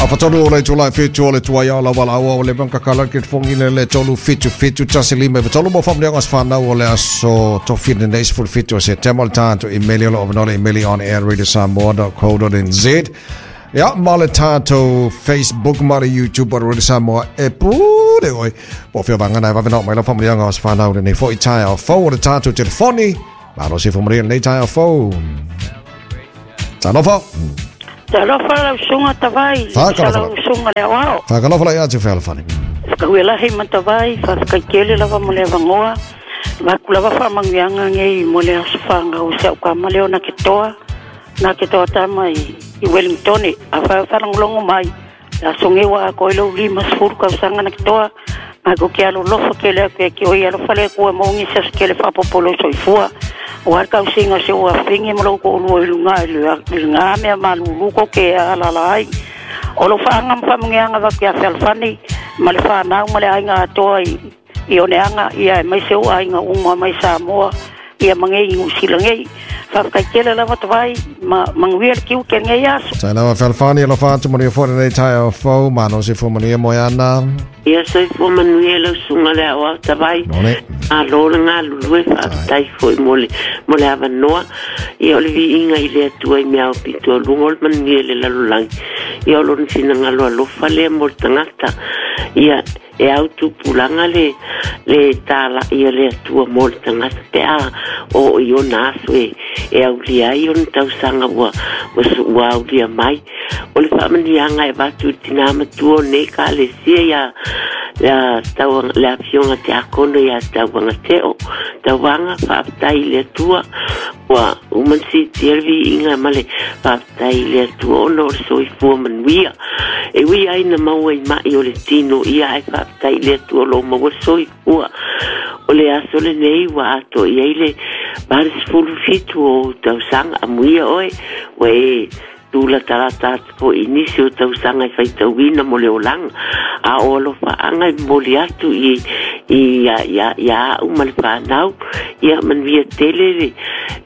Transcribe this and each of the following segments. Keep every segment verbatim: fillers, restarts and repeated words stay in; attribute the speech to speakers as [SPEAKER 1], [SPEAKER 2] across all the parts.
[SPEAKER 1] Afatolu o le tula fitu o le tua ia o la wala o le banka kala ke fongi le le tolu fitu fitu tasi lima e tolu mo family ngas whanau o le aso to fina neis ful fitu o se temal tātu email o lo email on air radio samoa dot co dot nz. Ia ma le tātou Facebook ma le YouTube o Radio Samoa e pure oi. Po whia vangana e wawena mai la family ngas whanau le nei fo i tae o fau o le tātou telefoni. Malo se fo maria nei tae o fau. Talofa.
[SPEAKER 2] Talofa lau sunga tawai. Lau sunga leo ao.
[SPEAKER 1] Whakalofa lai atu whealafani.
[SPEAKER 2] Whakahuelahi matawai, whakaikele lava mo le vangoa. Waku lava whamangianga ngei mo le asufanga o se au ka maleo na ke toa. Na ke toa tama i, i Wellington. A wha wharangolongo mai. La songewa a koe lau lima sfuru kausanga na ke toa. Ma ko ke alo lofa ke lea ke ke oi alo fale kua maungi sa ke le whapopolo soifua. O har kau singa se o awhinge mo ko lua i lunga i lunga mea malulu ko ke alala ai. O lo whaanga mwhamungeanga waki a whalwhani, ma le whanau ma le ainga atoa i, i oneanga, ia e mai se o ainga uma mai Samoa, ia mangei i usila ngei. Whawhai kele lava tawai, ma manguia le kiu ke ngei aso.
[SPEAKER 1] Tai lava whalwhani, alo whaatu mania fōre nei tai o fau, mano se fō mania moeana.
[SPEAKER 3] Ia soi fō manuia lau sunga le au au tawai.
[SPEAKER 1] None.
[SPEAKER 3] A lola ngā lulue whaatai fōi mo le, mo le awanoa. Ia o le viinga i le atua i mea o pitua lunga o le manuia le lalolangi. Ia o lona sina ngalo alofa lea mo le tangata. Ia e au tupulanga le, le tāla ia le atua mo le tangata pe a o i ona aso e, e aulia ai ona tausanga ua, ua, ua aulia mai. O le whaamanianga e watu tina matua o nei ka le sia ia la tauanga le afioga te akono ia tauanga teo tauanga faafetai i le Atua ua uma sitia le viiga ma le faafetai i le Atua ona o le soifua manuia e ui ai na maua i ma'i o le tino ia ai faafetai i le Atua o lou maua le soifua o le aso lenei ua atoa i ai le valesefulu fitu o tausaga amuia oe ua e tula talata atu po i nisi o tausaga e faitauina mo le olaga a o alofaaga e momoli atu i i ia ia a'u ma le fanau ia manuia tele le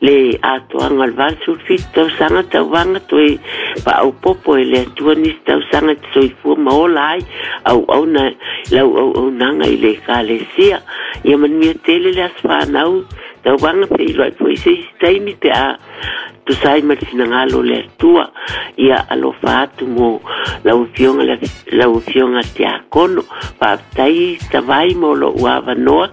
[SPEAKER 3] le atoaga o le valesefulu tausaga tauvaga toe faaopopo e le Atua nisi tausaga e te soifua ma ola ai auauna lau auaunaga i le ekalesia ia manuia tele le aso fanau tauvaga feiloai fo'i se isi taimi pe a tusai ma le finagalo le Atua ia alofa atu mo lau afioga lau afioga te akono faafetai tavai mo lo'u avanoa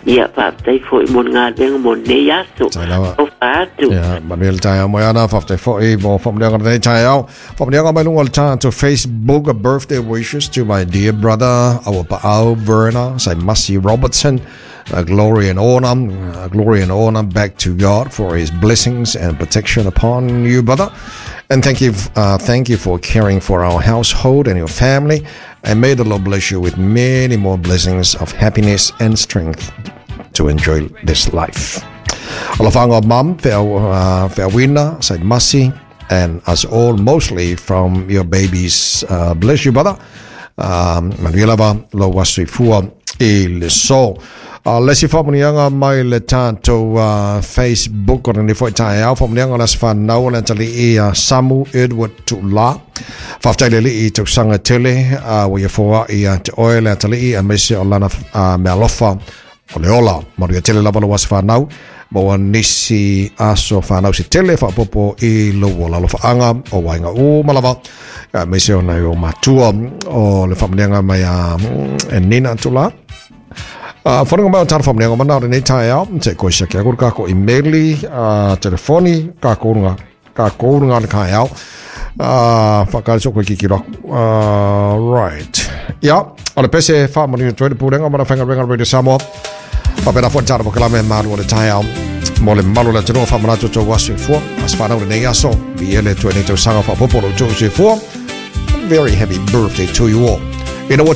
[SPEAKER 3] ia faafetai fo'i mo le galuega mo lenei aso alofa atu.
[SPEAKER 1] Ia manuia le taeao moeana faafetai fo'i mo faamanuiaga lenei taeao faamanuiaga mai luga o le tatou Facebook. Birthday wishes to my dear brother our Pa'au Verna Saimasi Robertson. Uh, glory and honor, uh, glory and honor back to God for His blessings and protection upon you, brother. And thank you, uh, thank you for caring for our household and your family. And may the Lord bless you with many more blessings of happiness and strength to enjoy this life. Alafanga mum, Feawina, Saimasi, and us all, mostly from your babies. Uh, bless you, brother. Um, Manuela lo wasifua i le so. Uh, lesi whamunianga mai le tātou uh, Facebook o ni foi taeao whamunianga o las whanau o le tali i uh, Samu Edward Tula whaftai le li i tausanga tele uh, wa ia fōa i uh, te oe le tali i a mese o lana uh, mealofa o le ola maruia tele lava lo was whanau mo nisi aso whanau si tele whapopo i lo o lalo whaanga o wainga o malava uh, mese o nei o matua o le whamunianga mai a uh, Nina Tula. Uh, whanunga mai o tāna whamunianga mana o nei taeao, te koe sia kia kuru kako emaili, uh, telefoni, ka kourunga, ka kourunga le kaeao. Uh, whakari so koe kiki raku. Uh, right. Ia, o le pese whaamaringa tuere pūrenga mana whenga renga Radio Samoa. Whapena fo tāna wakalame maru o le taeao. Mo le malu le tenoa whamanatu tō wasu e fua. As whanau le nei aso, vi ele tue nei tau sanga whapoporo tō se fua. Very happy birthday to you all. Ina ua